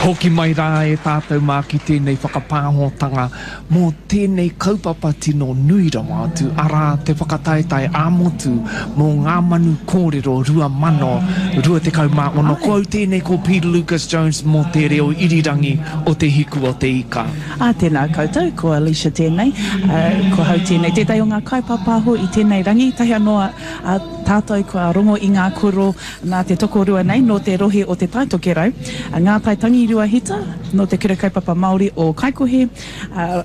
Hoki mai rā e tātou mā ki tēnei whakapāhotanga mō tēnei kaupapa tino nui rawa atu, arā, te whakataetae ā-motu mō Ngā Manu Kōrero 2026. Ko au tēnei ko Peter Lucas Jones mō te reo irirangi o Te Hiku o Te Ika. Ā, tēnā koutou, ko Alicia tēnei, ko hau tēnei, tētahi o ngā kaipāpāho i tēnei rangi, tahi anō a tātou kua rongo i ngā kōrero Nā te tokorua nei nō te rohe o Te Tai Tokerau, a Ngātai Tangirua Hita, nō Te Kura Kaupapa Māori o Kaikohe, ā,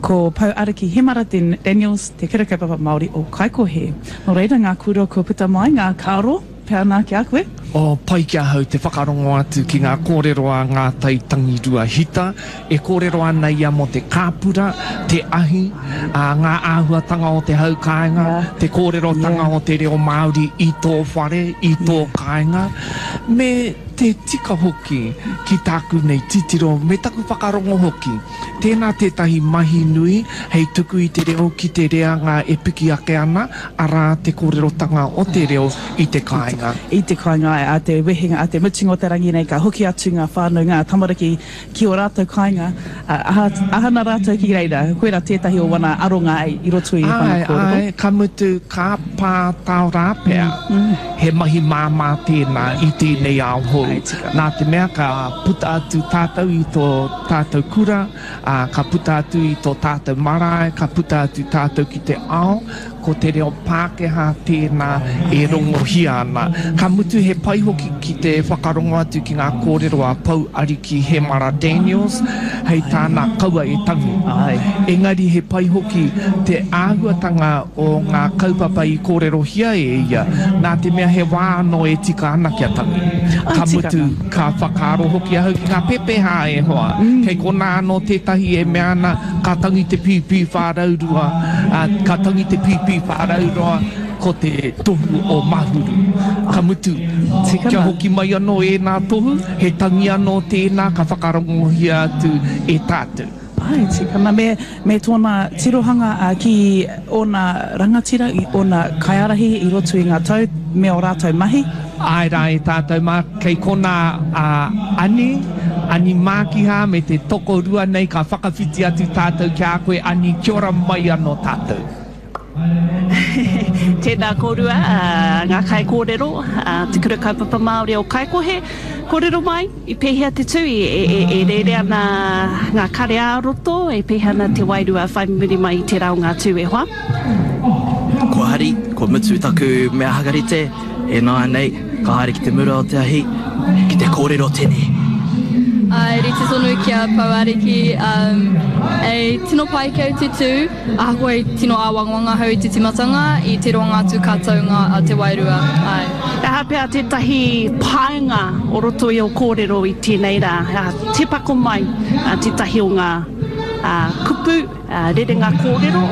ko Pou Ariki Hemara Daniels, Te Kura Kaupapa Māori o Kaikohe. Nō reira ngā kōrero kua puta mai, ngā kāro pea nā ki a koe. Oh, pai ki ahau te whakarongo atu ki ngā kōrero a Ngātai Tangirua Hita. E kōrero ana ia mō te kāpura, te ahi, ā, ngā āhuatanga o te hau kāinga, te kōrerotanga o te reo Māori i tō whare, i tō kāinga, me te tika hoki ki tāku nei titiro me taku whakarongo hoki. Tēnā tētahi mahi nui hei tuku i te reo ki te reanga e piki ake ana, arā, te kōrerotanga o te reo i te kāinga. I te kāinga, āe, ā te wehenga, ā te mutunga o te rangi nei ka hoki atu ngā whānau, ngā tamariki ki ō rātou kāinga, ā, aha, aha ana rātou ki reira, koirā tētahi o wana aronga i roto i wana kōrero. Āe, āe, ka mutu, ka pā tao rā pea, he mahi māmā tēnā i tēnei ao hou. Nā te mea ka puta atu tātou i tō tātou kura, ā, ka puta atu i tō tātou marae, ka puta atu tātou ki te ao, Ko te reo Pākehā tēnā e rongohia ana. Ka mutu he pai hoki ki te whakarongo atu ki ngā kōrero a Pou Ariki Hemara Daniels, hei tāna kaua e tangi. Engari he pai hoki te āhuatanga o ngā kaupapa i kōrerohia e ia, nā te mea he wā anō e tika ana kia tangi. Ka mutu, ka whakaaro hoki ahau ki ngā pepeha e hoa, kei konā anō tētahi e mea ana, Ka tangi te pīpī whāraurua, ā, ka tangi te pīpī whāraurua, ko te tohu o Mahuru. Ka mutu, kia hoki mai anō ēnā tohu, he tangi anō tēnā ka whakarongohia atu e tātou. Āe, tika ana. Me, me tōna tirohanga ki ōna rangatira, i ōna kaiārahi i roto i ngā tau me ō rātou mahi. Āe rā e tātou mā, kei konā a Ani, Ani Mākiha me te tokorua nei ka whakawhiti atu tātou ki a koe Ani, kia ora mai anō tātou. Tēnā kōrua, ngā kaikōrero, Te Kura Kaupapa Māori o Kaikohe. Kōrero mai, i pēhea te tū, e rere ana ngā kare ā-roto, e pēhea ana te wairua whai muri mai i tērā o ngā tū e hoa? Kua hari, kua mutu taku mea hakarite. Ināianei, ka haere ki te mura o te ahi, ki te kōrero tene. Āe, rite tonu ki a Pou Ariki, e tino pai ki au te tū, ahakoa i tino āwangawanga ahau i te tīmatanga, i te roanga atu ka tau ngā, te wairua, āe. He aha pea tētahi painga o roto i ō kōrero i tēnei rā? Tīpako mai tētahi o ngā kupu Rerenga kōrero,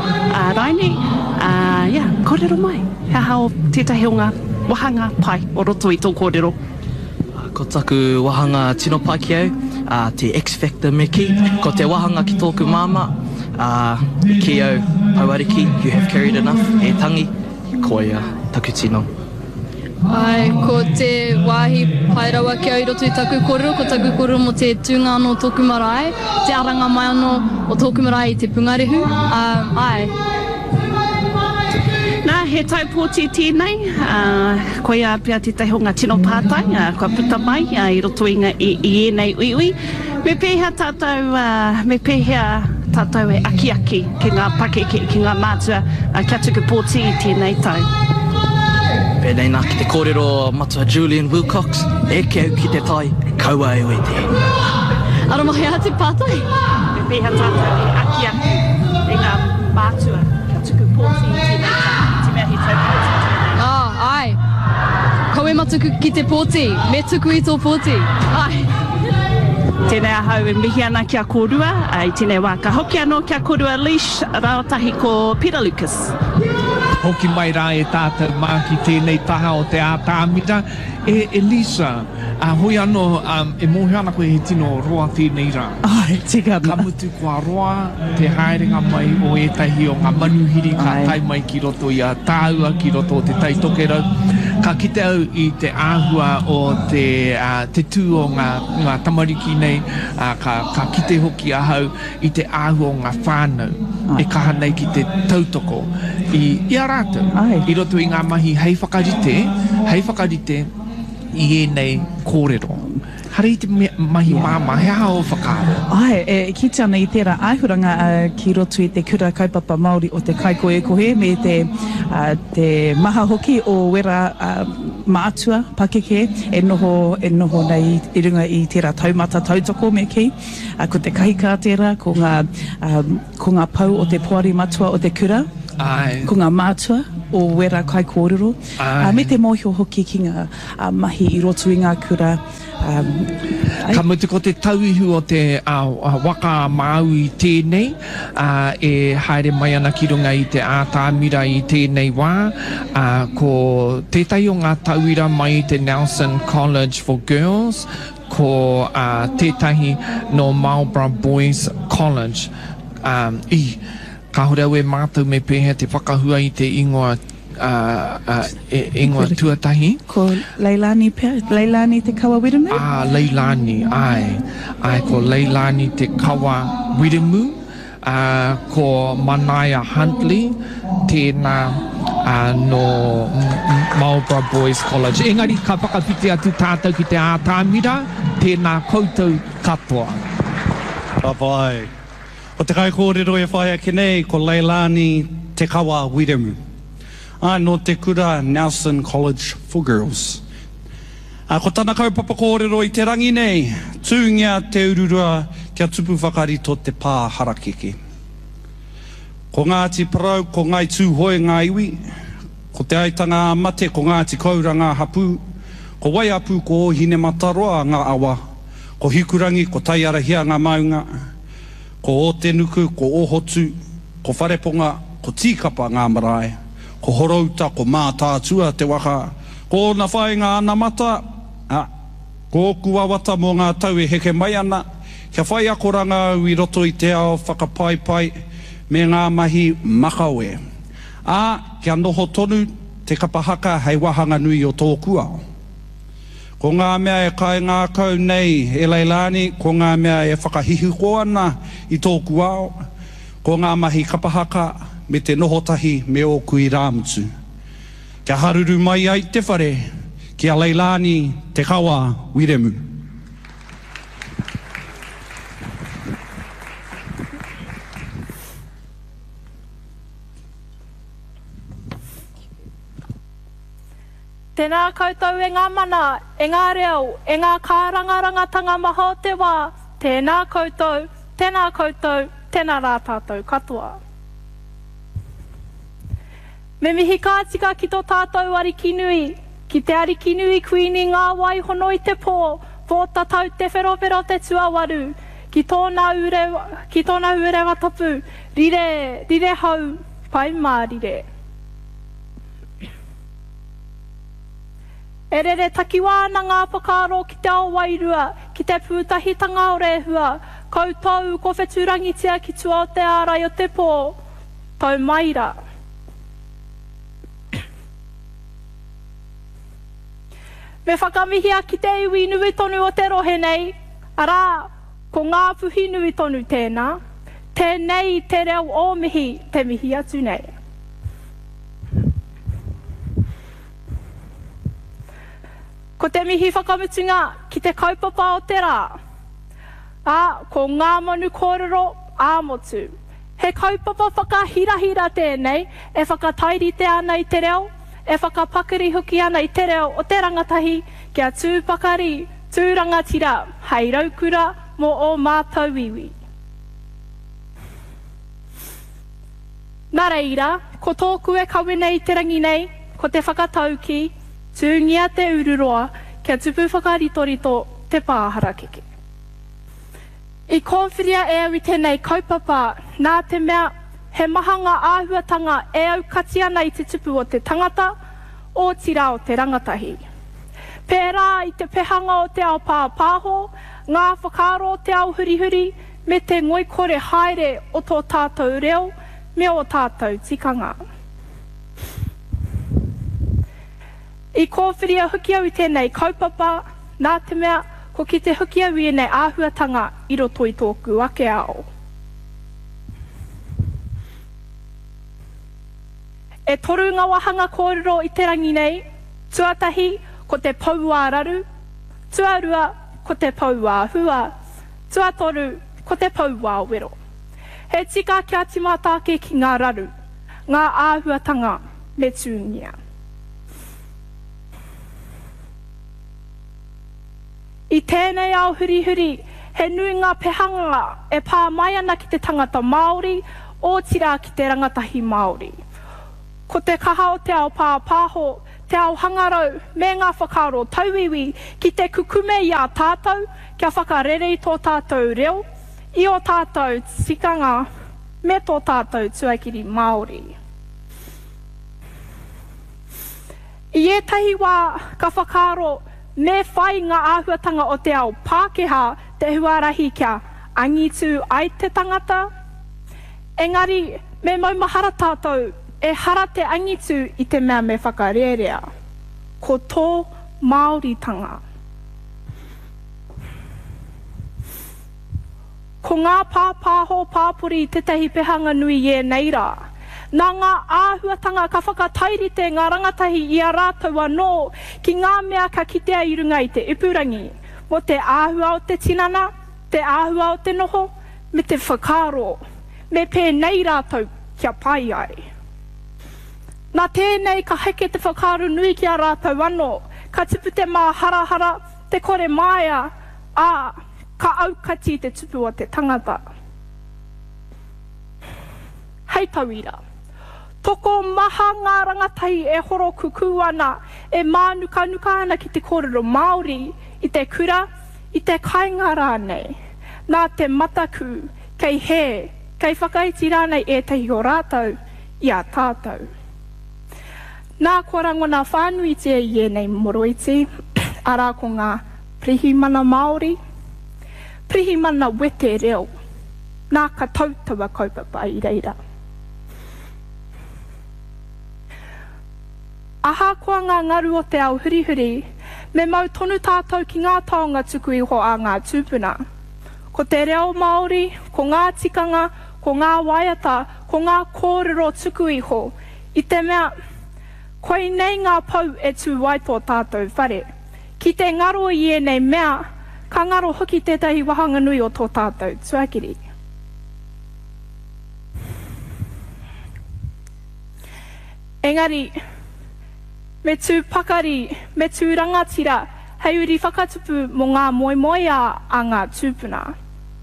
Raini, yeah, kōrero mai, he aha o tētahi o ngā wāhanga pai o roto i tō kōrero? Ko taku wāhanga tino pai ki au, te X-Factor me kī, ko te wāhanga ki tōku māmā, i kī au, Pouariki, you have carried enough, e tangi, koia taku tino. Āe, ko te wāhi pai rawa ki au i roto i taku kōrero, ko taku kōrero mō te tūnga anō o tōku marae, te aranga mai anō o tōku marae i Te Pungarehu, ā, āe. Nā, he tau pōti tēnei, ā, koia pea tētahi o ngā tino pātai, ā, kua puta mai, ā, i roto i ngā, i, i ēnei uiui. Me pēhea tātou, ā, me pēhea tātou e akiaki ki ngā pakeke, ki ngā mātua, ā, kia tuku pōti i tēnei tau? Pēnei nā ki te kōrero a Matua Julian Wilcox, Eke au ki te tai, kaua e wete. Ara mai a te pātai. Me pēhea tātou e akiaki i ngā mātua kia tuku pōti i tēnei tau, i te mea he tau pōti tēnei? Ā, āe. Kawe matuku ki te pōti. Me tuku i tō pōti. Āe. Tēnei ahau e mihi ana ki a kōrua i tēnei wā. Ka hoki anō ki a kōrua Leash rāua tahi ko Peter Lucas. Hoki mai rā e tātou mā ki tēnei taha o te ātamira. E Elisa, ā, hoi anō, e mōhio ana koe he tino roa tēnei rā. Āe, tika ana. Ka mutu kua roa te haerenga mai o ētahi o ngā manuhiri ka tae mai ki roto i a tāua, ki roto o Te Tai Tokerau. Ka kite au i te āhua o te, te tū o ngā, ngā tamariki nei, ā, ka, ka kite hoki ahau i te āhua o ngā whānau e kaha nei ki te tautoko i, i a rātou i roto i ngā mahi hei whakarite, hei whakarite i ēnei kōrero. Hara i te mahi māmā, he aha ō whakaaro? Āe, e kite ana i tērā āhuranga ki roto i te Kura Kaupapa Māori o Te Kaikohekohe me te, te maha hoki o wērā mātua pakeke e noho, e noho nei i runga i tērā taumata tautoko me kī. Ko te kahikā tērā, ko ngā, ko ngā pou o te poari matua o te kura, Āe. ko ngā mātua o wērā kaikōrero, Āe. me te mōhio hoki ki ngā mahi i roto i ngā kura. Āe. Ka mutu ko te tauihu o te waka a Māui tēnei, e haere mai ana ki runga i te ātamira i tēnei wā, ko tētahi o ngā tauira mai i te Nelson College for Girls, Ko tētahi nō Marlborough Boys College. I, kāore au e mātau me pēhea te whakahua i te ingoa, ingoa tuatahi. Ko Leilani pea, Leilani Te Kawa Wiremu? Ā, Leilani, āe. Āe, ko Leilani Te Kawa Wiremu. Ā, ko Manaia Huntley tēnā, ā, nō Marlborough Boys College. Engari ka whakawhiti atu tātou ki te ātamira, tēnā koutou katoa. Ka pai. Ko te kaikōrero e whai ake nei ko Leilani Te Kawa Wiremu. Ā, nō te kura Nelson College for Girls. Ā, ko tana kaupapa kōrero i te rangi nei, Tūngia te ururua kia tupu whakarito te pā harakeke. Ko Ngāti Porou, ko Ngāi Tūhoe ngā iwi, ko Te Aitanga-a-Mate, ko Ngāti Koura ngā hapū, ko Waiapu, ko Ōhinemataroa ngā awa, ko Hikurangi, ko Taiarahia ngā maunga, ko Ōtenuku, ko Ōhotu, ko Whareponga, ko Tīkapa ngā marae, ko Horouta, ko Mātaatua te waka, Ko ōna whāinga anamata, ā, ko ōku wawata mō ngā tau e heke mai ana, kia whai akoranga au i roto i te ao whakapaipai me ngā mahi makawe, ā, kia noho tonu te kapa haka hei wāhanga nui o tōku ao. Ko ngā mea e kaingākau nei e Leilani, ko ngā mea e whakahihiko ana i tōku ao, ko ngā mahi kapa haka me te noho tahi me ōku irāmutu. Kia haruru mai ai te whare ki a Leilani Te Kawa Wiremu. Tēnā koutou e ngā mana, e ngā reo, e ngā kārangarangatanga maha o te wā, tēnā koutou, tēnā koutou, tēnā rā tātou katoa. Me mihi ka tika ki to tātou Ariki nui, ki te Ariki nui Kuini ngā wai hono i te pō, Pōtatau Te Wherowhero te tuawaru, ki tōna ure, ki tōna urewa tapu, rire, rire hau, pai mārire. E rere takiwā ana ngā whakaaro ki te ao wairua, ki te pūtahitanga o Rēhua, koutou ko whetūrangitia ki tua o te ārai o te pō, Tau mai rā. Me whakamihia ki te iwi nui tonu o te rohe nei, arā, ko Ngāpuhi nui tonu tēnā. Tēnei te reo o mihi te mihi atu nei. Ko te mihi whakamutunga ki te kaupapa o te rā, ā, ko Ngā Manu Kōrero ā-Motu. He kaupapa whakahirahira tēnei e whakatairite ana i te reo, e whakapakari hoki ana i te reo o te rangatahi kia tū pakari, tū rangatira hei raukura mō ō mātou iwi. Nā reira, ko tōku e kawe nei i te rangi nei, ko te whakataukī, Tūngia te ururoa kia tupu whakaritorito te pā harakeke. I kōwhiria e au i tēnei kaupapa nā te mea he maha ngā āhuatanga e aukati ana i te tupu o te tangata, otirā o te rangatahi. Pērā i te pehanga o te ao pāpāho, ngā whakaaro o te ao hurihuri, me te ngoikore haere o tō tātou reo me ō tātou tikanga. I kōwhiria hoki au i tēnei kaupapa, nā te mea, ko kite hoki au i ēnei āhuatanga i roto i tōku ake ao. E toru ngā wāhanga kōrero i te rangi nei, tuatahi, ko te pou ā-raru, tuarua, ko te pou ā-hua, tuatoru, ko te pou ā-wero. He tika kia tīmata ake ki ngā raru, ngā āhuatanga me tūngia. I tēnei ao hurihuri, he nui ngā pehanga e pā mai ana ki te tangata Māori, otirā ki te rangatahi Māori. Ko te kaha o te ao pāpāho, te ao hangarau me ngā whakaaro tauiwi ki te kukume i a tātou kia whakarere i tō tātou reo, i ō tātou tikanga me tō tātou tuakiri Māori. I ētahi wā ka whakaaro me whai ngā āhuatanga o te ao Pākehā te huarahi kia angitu ai te tangata. Engari me maumahara tātou ehara te angitu i te mea me whakarērea. Ko tō Māoritanga. Ko ngā pāpāho pāpori tētahi pehanga nui i ēnei rā. Nā ngā āhuatanga ka whakatairite ngā rangatahi i a rātou anō ki ngā mea ka kitea i runga i te ipurangi, mō te āhua o te tinana, te āhua o te noho, me te whakaaro me pēnei rātou kia pai ai. Nā tēnei ka heke te whakaaro nui ki a rātou anō, ka tupu te māharahara, te kore māia, ā, ka aukati te tupu o te tangata. Hei tauira, tokomaha ngā rangatahi e horokukū ana, e mānukanuka ana ki te kōrero Māori i te kura, i te kāinga rānei, nā te mataku kei hē, kei whakaiti rānei ētahi o rātou i a tātou. Nā, kua rangona whānuitia i ēnei moroiti, arā ko ngā Pirihimana Māori, Pirihimana wete reo, nā ka tau taua kaupapa i reira. Ahakoa ngā ngaru o te ao hurihuri, me mau tonu tātou ki ngā taonga tuku iho a ngā tūpuna. Ko te reo Māori, ko ngā tikanga, ko ngā waiata, ko ngā kōrero tuku iho, i te mea, koinei ngā pou e tū ai tō tātou whare. Ki te ngaro i ēnei mea, ka ngaro hoki tētahi wāhanga nui o tō tātou tuakiri. Engari, me tū pakari, me tū rangatira hei uri whakatupu mō ngā moemoeā a ngā tūpuna.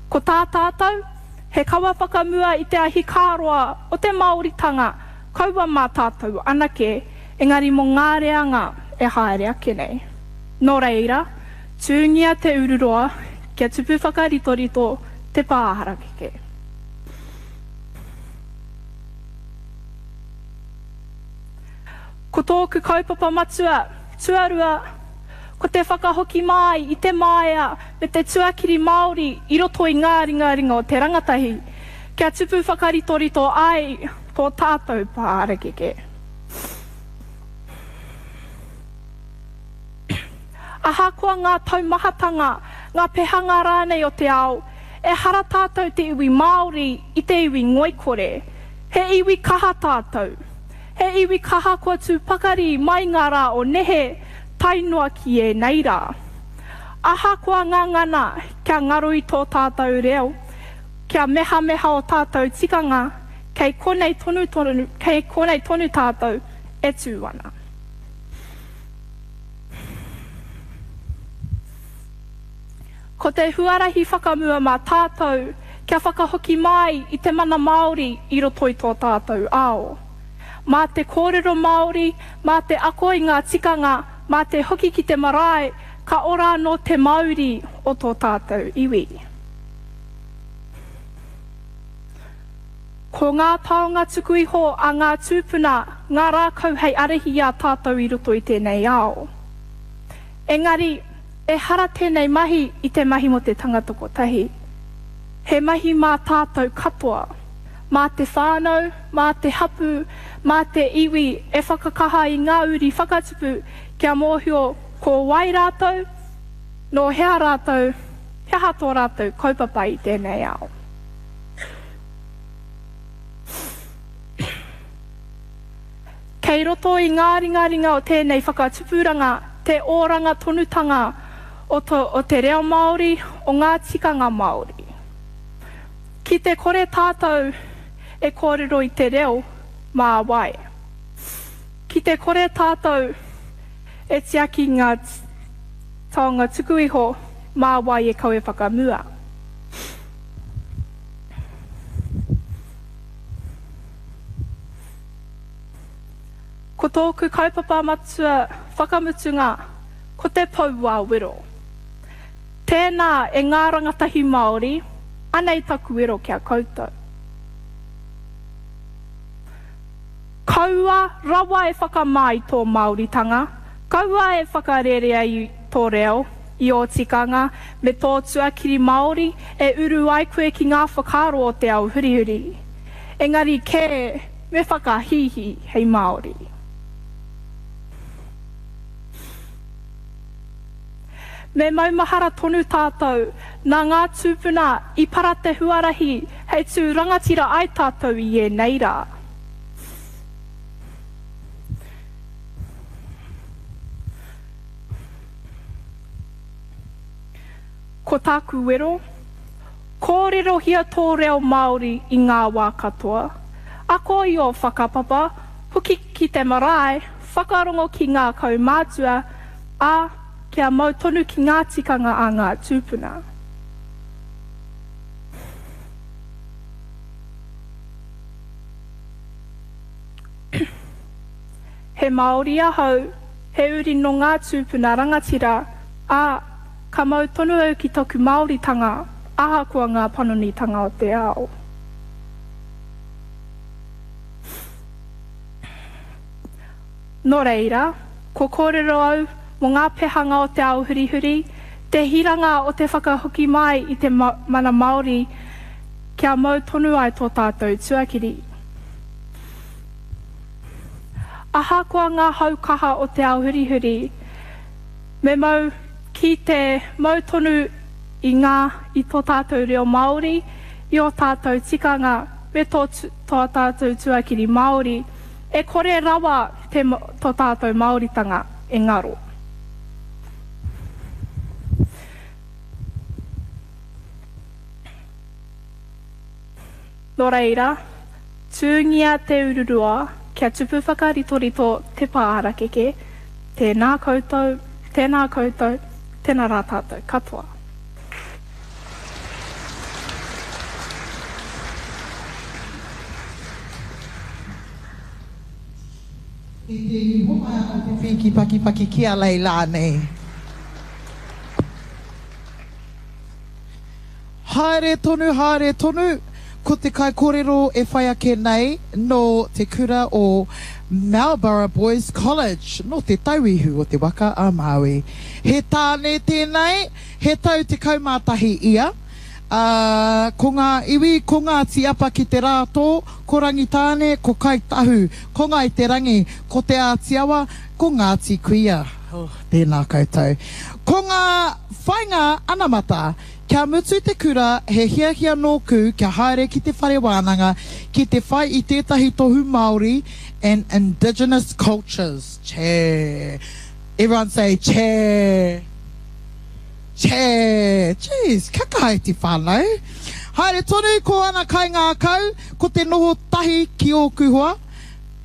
Ko tā tātou, he kawa whakamua i te ahikāroa o te Māoritanga, kaua mā tātou anake, engari mō ngā reanga e haere ake nei. Nō reira, tūngia te ururoa kia tupu whakaritorito te pā harakeke. Ko tōku kaupapa matua, tuarua, ko te whakahoki māi i te māia me te tuakiri Māori i roto i ngā ringaringa o te rangatahi, kia tupu whakaritorito ai tō tātou pā harakeke. Ahakoa ngā taumahatanga, ngā pehanga rānei o te ao, ehara tātou te iwi Māori i te iwi ngoikore. He iwi kaha tātou. He iwi kaha kua tū pakari mai ngā rā o nehe tae noa ki ēnei rā. Ahakoa ngā ngana kia ngaro i tō tātou reo, kia mehameha ō tātou tikanga, kei konei tonu tonu, kei konei tonu tātou e tū ana. Ko te huarahi whakamua mā tātou kia whakahoki mai i te mana Māori i roto i tō tātou ao. Mā te kōrero Māori, mā te ako i ngā tikanga, mā te hoki ki te marae, ka ora anō te mauri o tō tātou iwi. Ko ngā taonga tuku iho a ngā tūpuna ngā rākau hei ārahi i a tātou i roto i tēnei ao. Engari, ehara tēnei mahi i te mahi mō te tangata kotahi. He mahi mā tātou katoa. Mā te whānau, mā te hapū, Mā te iwi e whakakaha i ngā uri whakatupu kia mōhio ko wai rātou, nō hea rātou, he aha tō rātou kaupapa i tēnei ao. Kei roto i ngā ringaringa o tēnei whakatupuranga te oranga tonutanga o o te reo Māori, o ngā tikanga Māori. Ki te kore tātou e kōrero i te reo, mā wai? Ki te kore tātou e tiaki ngā taonga tuku iho, mā wai e kawe whakamua? Ko tōku kaupapa matua whakamutunga ko te pou ā-wero. Tēnā e ngā rangatahi Māori, anei taku wero ki a koutou. Kaua rawa e whakamā i tō Māoritanga, kaua e whakarerea i tō reo, i ō tikanga, me tō tuakiri Māori e uru ai koe ki ngā whakaaro o te ao hurihuri. Engari kē, me whakahīhī hei Māori. Me maumahara tonu tātou, nā ngā tūpuna i para te huarahi hei tū rangatira ai tātou i ēnei rā. Ko tāku wero, kōrerohia tō reo Māori i ngā wā katoa. Ako i ō whakapapa, hoki ki te marae, whakarongo ki ngā kaumātua, ā, kia mau tonu ki ngā tikanga a ngā tūpuna. He Māori ahau, he uri nō ngā tūpuna rangatira, ā, ka mau tonu au ki taku Māoritanga ahakoa ngā panonitanga o te ao. Nō reira, kua kōrero au mō ngā pehanga o te ao hurihuri, te hiranga o te whakahoki mai i te mana Māori kia mau tonu ai tō tātou tuakiri. Ahakoa ngā hau kaha o te ao hurihuri, me mau ki te mau tonu i ngā i tō tātou reo Māori, i ō tātou tikanga me tō tō tātou tuakiri Māori. E kore rawa te to tātou Māoritanga e ngaro. Nō reira, tūngia te ururoa kia tupu whakaritorito te pā harakeke, tēnā koutou, tēnā koutou, tēnā rā tātou katoa. I te homai ano te whīki pakipaki ki a Leilani. Haere tonu, haere tonu, ko te kaikorero e whai ake nei nō te kura o Marlborough Boys College, nō Te Tauihu o te Waka a Māui. He tāne tēnei, he tau 11 ia. Ā, ko ngā iwi, ko Ngāti Apa ki te Rātō, ko Rangitāne, ko Kāi Tahu, ko Ngāi Te Rangi, ko Te Āti Awa, ko Ngāti Kuia. Oh, tēnā koutou. Ko ngā whainga anamata, kia mutu te kura, he hiahia nōku kia haere ki te whare wānanga ki te whai i tētahi tohu Māori and Indigenous Cultures. Chee. Everyone say chee. Chee, jeez, kia kaha e te whānau. Haere tonu ko ana kaingākau, ko te noho tahi ki ōku hoa,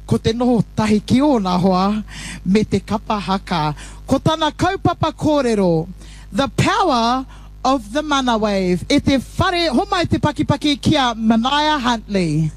ko te noho tahi ki ōna hoa, me te kapa haka. Ko tana kaupapa kōrero, The power of the mana wave. E te whare, homai te pakipaki ki a Manaia Huntley.